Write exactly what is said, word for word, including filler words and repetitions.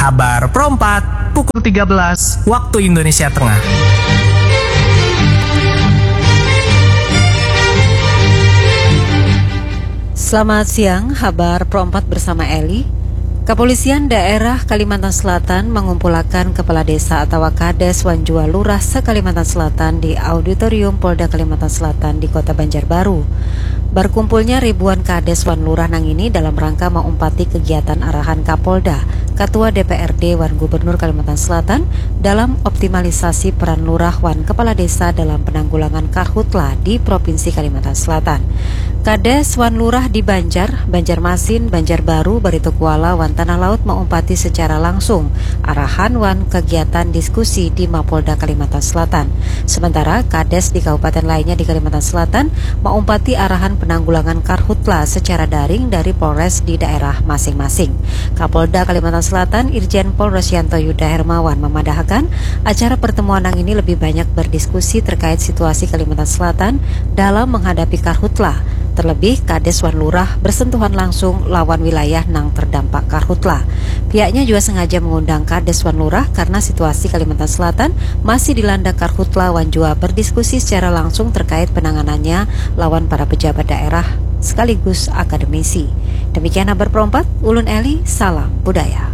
Habar Perompat, pukul tiga belas waktu Indonesia Tengah. Selamat siang, Habar Perompat bersama Eli. Kapolisian Daerah Kalimantan Selatan mangumpulakan Kepala Desa atawa Kades wan jua Lurah se-Kalimantan Selatan di Auditorium Polda Kalimantan Selatan di Kota Banjarbaru. Berkumpulnya ribuan Kades wan Lurah nangini dalam rangka maumpati kegiatan arahan Kapolda, Ketua D P R D wan Gubernur Kalimantan Selatan dalam optimalisasi peran Lurah wan Kepala Desa dalam penanggulangan Karhutla di Provinsi Kalimantan Selatan. Kades wan Lurah di Banjar, Banjarmasin, Banjarbaru, Baritokuala, wan Tanah Laut maumpati secara langsung arahan wan kegiatan diskusi di Mapolda Kalimantan Selatan. Sementara, Kades di kabupaten lainnya di Kalimantan Selatan maumpati arahan penanggulangan Karhutla secara daring dari Polres di daerah masing-masing. Kapolda Kalimantan Selatan, Irjen Pol Rosyanto Yuda Hermawan, memadahakan acara pertemuan nangini lebih banyak berdiskusi terkait situasi Kalimantan Selatan dalam menghadapi Karhutla, terlebih Kades wan Lurah bersentuhan langsung lawan wilayah nang terdampak Karhutla. Pihaknya jua sengaja mengundang Kades wan Lurah karena situasi Kalimantan Selatan masih dilanda Karhutla wan jua berdiskusi secara langsung terkait penanganannya lawan para pejabat daerah sekaligus akademisi. Demikian Habar Perompat, ulun Eli, salam budaya.